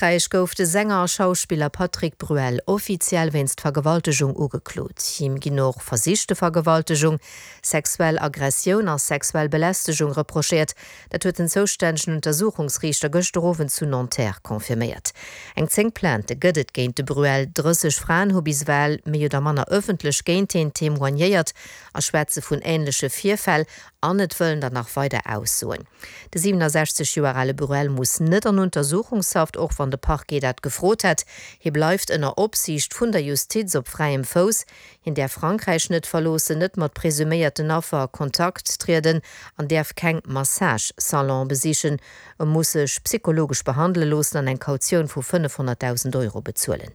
Frankräich gouf de Sänger a Schauspiller Patrick Bruel offiziell wéinst Vergewaltegung ugeklot. Him ginn och versichte Vergewaltegung, sexuell Aggressioun a sexuell Belästegung reprochéiert. Dat huet den zoustännegen Untersuchungsriichter gëschter Owend zu Nanterre confirméiert. Eng 10 Plaintë gëtt et géint de Bruel. 30 Fraen hu bis ewell méi oder manner ëffentlech géint hien témoignéiert a schwätze vun änleche Virfäll an et wëllen der nach weider aussoen. De 67 Joer ale Bruel muss net an Untersuchungshaft, och wann de Parquet dat gefrot hätt. Hie bleift ënner Opsiicht vun der Justiz op fräiem Fouss. Hien däerf Frankräich net verloossen, net mat presuméierten Affer a Kontakt trieden an däerf keng Massage-Salonë besichen. E muss sech psychologesch behandele loossen an eng Kautioun vu 500.000 Euro bezuelen.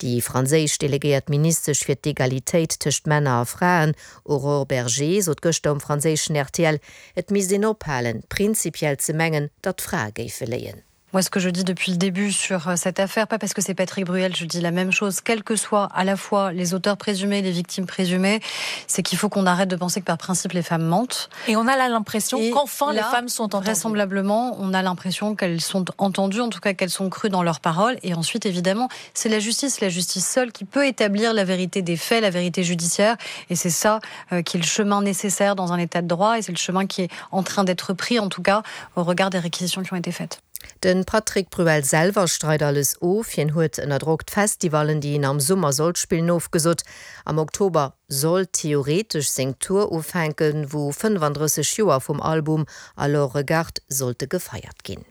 Déi franséisch delegéiert Ministesch fir d'Egalitéit tëscht Männer a Fraen, Aurore Bergé, sot gëschter um franséischen rtl, Et misst een ophalen, prinzipiell ze mengen, datt d'Frae géife léien. Moi ce que je dis depuis le début sur euh, cette affaire, pas parce que c'est Patrick Bruel, je dis la même chose, quels que soient à la fois les auteurs présumés, les victimes présumées, c'est qu'il faut qu'on arrête de penser que par principe les femmes mentent. Et on a là l'impression qu'enfin les femmes sont entendues. Vraisemblablement, on a l'impression qu'elles sont entendues, en tout cas qu'elles sont crues dans leurs paroles. Et ensuite, évidemment, c'est la justice, la justice seule qui peut établir la vérité des faits, la vérité judiciaire. Et c'est ça euh, qui est le chemin nécessaire dans un état de droit et c'est le chemin qui est en train d'être pris, en tout cas, au regard des réquisitions qui ont été faites. De Patrick Bruel selwer streit alles of. Hien huet ënner Drock d'Festivallen, déi hien am Summer sollt spillen, ofgesot. Am Oktober soll theoretesch seng Tour ufänken, wou 35 Joer vum Album Alors Regarde sollte gefeiert ginn.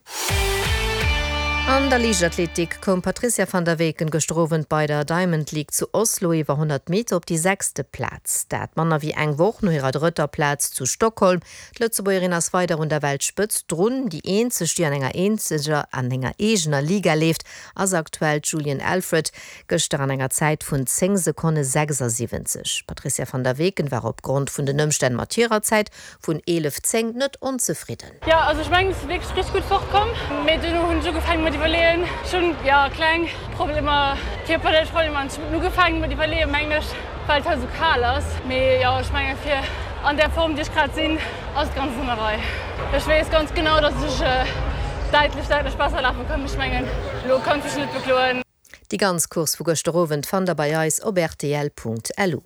An der Liichtathletik koum d'Patrizia van der Weken gëschter Owend bei der Diamond League zu Oslo iwwer 100 Meter op déi sechste Plaz. Dat manner wéi eng Woch no hirer drëtter Plaz zu Stockholm. D'Lëtzebuergerin ass weider un der Weltspëtzt drun. Déi eenzeg, déi an enger eenzeger an enger eegener Liga leeft, ass aktuell d'Julien Alfred, gëschter an enger Zäit vun 10 Sekonne 76. D'Patrizia van der Weken war opgrond vun den Ëmstänn mat hirer Zäit vun 11, 10 net onzefridden. Jo also ech mengen ech si wierklech richteg gutt fort komm, mee duerno hunn ech ugefaangen mat iwwerleeën. Ech hunn jo kleng Problemer, kierperlech Problemer an ech hunn ugefaangen mat iwwerleeën mengen ech, well et halt esou kal ass. Mee jo ech mengen fir an där Form déi ech grad sinn ass et ganz an der Rei. Ech weess ganz genau dass ech däitlech däitlech besser lafe kann, mee ech mengen elo kann ech mech net bekloen. Déi ganz Course vu gëschter Owend fannt der bei eis op rtl.lu.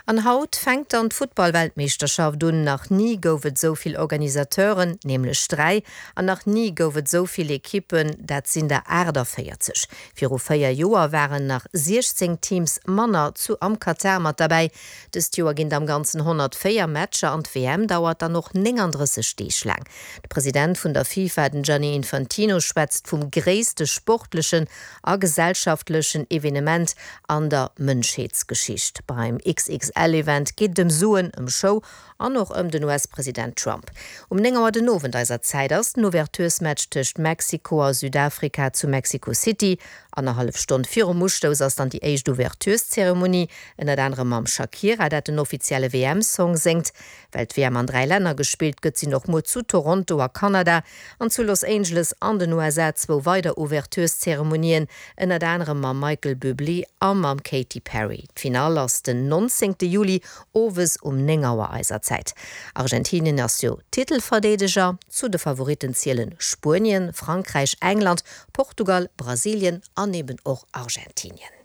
An haut fänkt dann d'Futtball-Weltmeeschterschaft un. Nach ni gouf et esou vill Organisateuren, nämlech 3, an nach ni gouf et esou vill Ekippen, dat sinn der 48. Viru 4 Joer waren nach 16 Teams manner zu am Katar mat derbäi. Dëst Joer ginn et am Ganzen 104 Matcher an d'WM dauert dann och 39 Deeg laang. De President vun der FIFA, den Gianni Infantino, schwätzt vum gréisste sportlechen a gesellschaftlechen Evenement an der Mënschheetsgeschicht. Beim XXL-Event geet et ëm Suen, ëm Show an och ëm den US-President Trump. Um 9 Auer den Owend eiser Zäit ass den Ouverturesmatch tëscht Mexiko a Südafrika zu Mexico City. Annerhallef Stonn virum Ustouss ass dann déi éischt Ouvertureszeremonie, ënnert anerem mam Shakira, dat den offizielle WM-Song séngt. Well d'WM an 3 Länner gespillt gëtt, sinn och muer zu Toronto a Kanada an zu Los Angeles an den USA zwou weider Ouvertureszeremonien, ënnert anerem mam Michael Bublé a mam Katy Perry. D'Finall ass den 19 Juli owes um 9 Auer eiser Zäit. Argentinien ass jo Titelverdeedeger. Zu de Favoritten zielen Spuenien, Frankräich, England, Portugal, Brasilien an eben och Argentinien.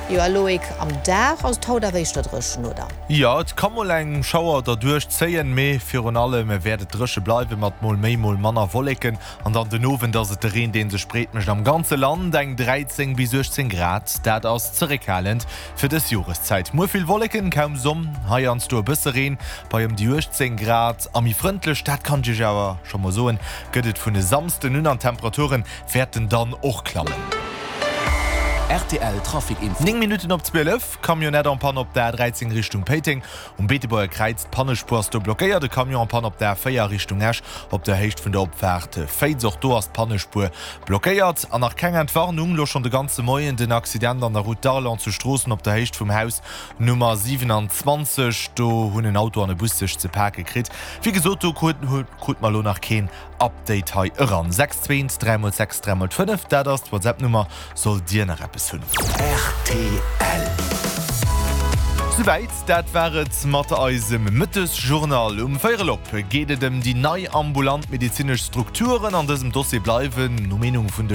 Jo a Loïc, am Dag ass et haut awer éischter dréchen, oder? Jo, et ka mol eng Schauer derduerch zéien, mee virun allem wäert et dréche bleiwen, mat mol méi, mol manner Wolleken. An dann den Owend ass et de Reen, dee sech breet mécht am ganze Land. Eng 13 bis 18 Grad, dat ass zeréckhalend fir dës Joreszäit. Muer vill Wolleken, kaum Sonn, heiansdo e bësse Reen bei ëm déi 18 Grad. A méi frëndlech, dat kann ech iech awer scho mol soen, gëtt et vun e Samsden un an d'Temperaturen wäerten dann och klammen. Rtl Trafic Info. 9 Minutten op 12, Camionnette en panne op der A13 Richtung Péiteng um Beetebuerger Kräiz. D'Pannespuer ass do blockéiert. E Camion en panne op der A4 Richtung Esch op der Héicht vun der Opfaart Féiz. Och do ass d'Pannespuer blockéiert. An nach keng Entwarnung, lo schonn de ganze Moien den Accident an der Route d'Arlon zu Stroossen op der Héicht vum Haus Nummer 27. Do hunn en Auto an e Bus sech ze pake kritt. Wéi gesot, do krute mer lo nach keen Update hei eran. 6 2 1 3 x 6 3 x 5, dat ass d'Whatsapp Nummer sollt dir nach eppes hunn. Rtl. Souwäit, dat war et mat eisem Mëttesjournal. Um Véierel op geet et ëm déi nei ambulant medezinesch Strukturen. An dësem Dossier bleiwen, no Meenung vun de.